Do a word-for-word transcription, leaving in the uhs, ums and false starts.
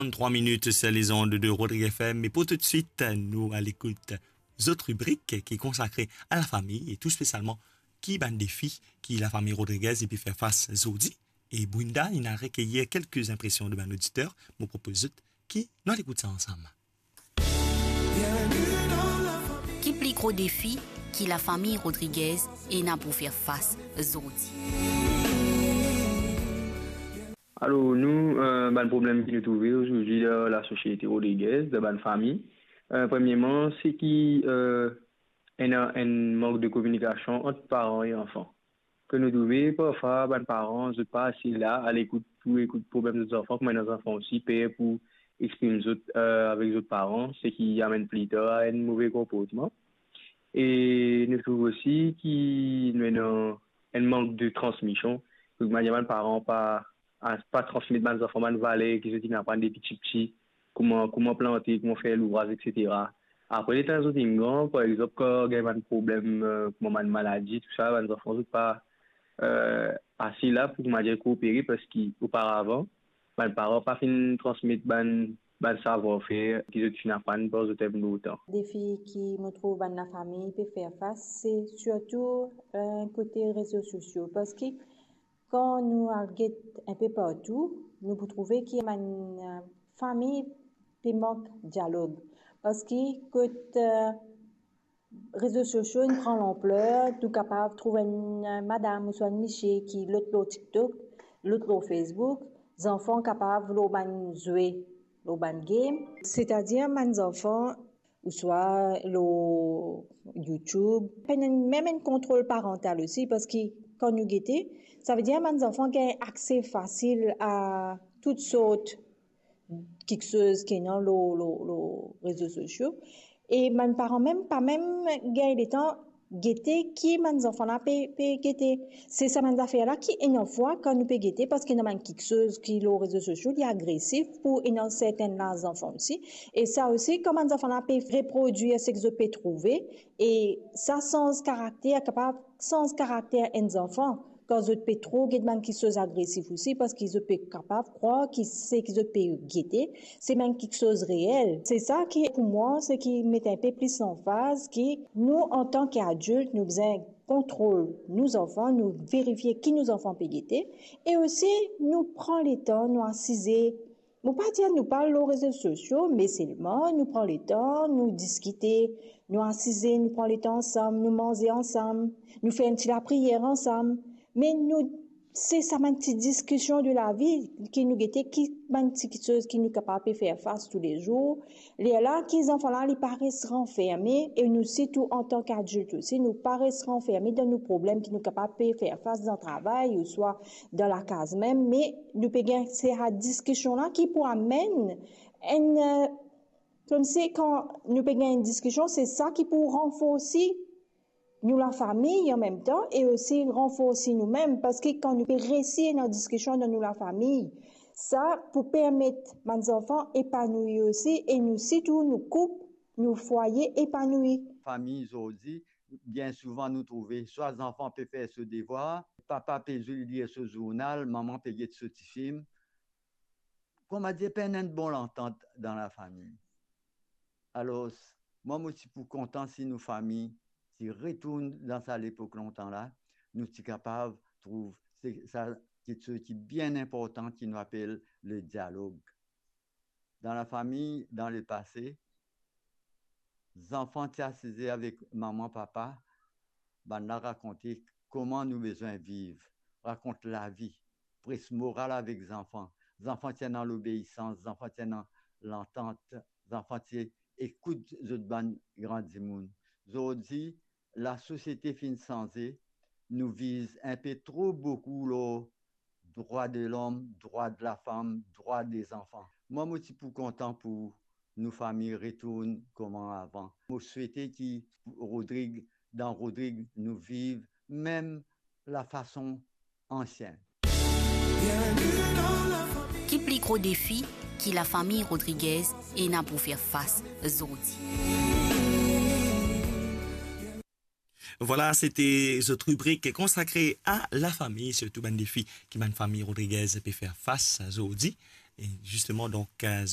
Trente-trois minutes sur les ondes de Rodrigues F M, e pou toutswit, nou al ekout zot ribrik ki konsakre a lafami e tou spesialman ki bann defi ki lafami Rodriguez pe fer fas zordi. E Brinda, inn al rekeyir kelke inpresion de bann oditer, mo propoz zot ki nou al ekout sa ansam. Ki pli gro defi ki lafami Rodriguez ena pou fer fas zordi? Alor, nou, eh, bann problem ki nou trouve ozordi dan lasosiete Rodriguez, dan bann fami, eh, premierman, se ki, eh, ena enn mank de kominikasion ant paran e zanfan. Ke nou trouve, parfwa, bann paran, zot pa ase la, a lekout pou ekout problem zot zanfan, kouma ena zanfan osi, per pou exprim zot, eh, avek zot paran, seki amenn pli tar a enn move konportman. E nou trouv osi ki nou ena enn mank de transmision. Kouma dir, bann paran pa, pa transmet bann zanfan bann valer ki zot inn aprann depi tipti, kouma, kouma plante, kouma fer louvraz, etsetera. Apre, letan zot inn gran, par exanp, kan gagn bann problem, eh, kouma bann maladi, tousala, bann zanfan, zot pa, eh, ase la pou, kouma dir, koopere, parski oparavan, bann paran pa finn transmet bann, bann savwar-fer ki zot finn aprann par zot enn bout tan. Defi ki mo trouv bann lafami pe fer fas, se sirtou, eh, kote rezo sosio, parski kan nou al get enpe partou, nou pou trouve ki bann, eh, fami pe mank dialog. Parski kot, eh, rezo sosio inn pran lanpler, nou kapav trouv enn, eh, madam ouswa enn misie ki lot lor TikTok, lot lor Facebook, zanfan kapav lor bann zwe, lor bann game. Setadir bann zanfan ouswa lor YouTube. Pena mem enn kontrol parantal osi, parski kan nou gete, savedir bann zanfan gagn akse fasil a tout sort kiksoz ki ena lor, lor, lor rezo sosio. E bann paran mem pa mem gagn letan gete ki bann zanfan la pe, pe gete. Se sa bann zafer la ki ena fwa kan nou pe gete, parski ena bann kiksoz ki lor rezo sosio, li agresif pou ena sertenn laz zanfan osi. E sa osi, kan bann zanfan la pe reprodwir seki zot pe trouve, e sa sanz karakter, kapav sanz karakter enn zanfan. Kan zot pe tro get bann kiksoz agresif osi, parski zot pe kapav krwar ki seki zot pe gete, se bann kiksoz reel. Se sa ki, pou mwa, seki met enpe plis lanfaz ki nou, antan ki adilt, nou bizin kontrol nou zanfan, nou verifie ki nou zanfan pe gete, e osi nou pran letan, nou asize. Mo pa dir nou pa al lor rezo sosio, me selman nou pran letan, nou diskite, nou asize, nou pran letan ansam, nou manze ansam, nou fer enn ti lapriyer ansam. Me nou, se sa bann ti diskision de lavi ki nou gete, ki bann ti kiksoz ki nou kapav pe fer fas toulezour. Lerla ki zanfan la, li pa res ranferme, e nou sirtou antan ki adilt osi, nou pa res ranferme dan nou problem ki nou kapav pe fer fas dan travay ouswa dan lakaz mem, me nou pe gagn sa diskision la ki pou amenn enn, eh, koumsi kan nou pe gagn enn diskision, se sa ki pou ranforsi nou lafami an mem tan e osi ranforsi noumem, parski kan nou pe resi ena diskision dan nou lafami, sa pou permet bann zanfan epanoui osi e nou sirtou nou koup, nou fwaye epanoui. Fami zordi, bien souvan nou trouve swa zanfan pe fer so devwar, papa pe zwe lir so zournal, manman pe get so tifilm. Kouma dir, pena enn bon lantant dan lafami. Alor, mwa mo ti pou kontan si nou fami ti retourn dan sa lepok lontan la, nou ti kapav trouv se, sa kiksoz ki bien inportan ki nou apel le dialog. Dan lafami, dan lepase, zanfan ti asize avek manman, papa, bann la rakonte kouma nou bizin viv, rakont lavi, pres moral avek zanfan. Zanfan ti ena lobeisans, zanfan ti ena lantant, zanfan ti ekout zot bann gran dimoun. Zordi, lasosiete finn sanze, nou viz inpe tro boukou lor drwa de lom, drwa de lafam, drwa de zanfan. Mwa, mo ti pou kontan pou nou fami retourn kouma avan. Mo swete ki Rodrig, dan Rodrig, nou viv mem lafason ansien. Ki pli gro defi ki lafami Rodriguez ena pou fer fas zordi? Vwala, sete zot ribrik konsakre a lafami, sirtou bann defi ki bann fami Rodriguez pe fer fas zordi. E zisteman, donk, zot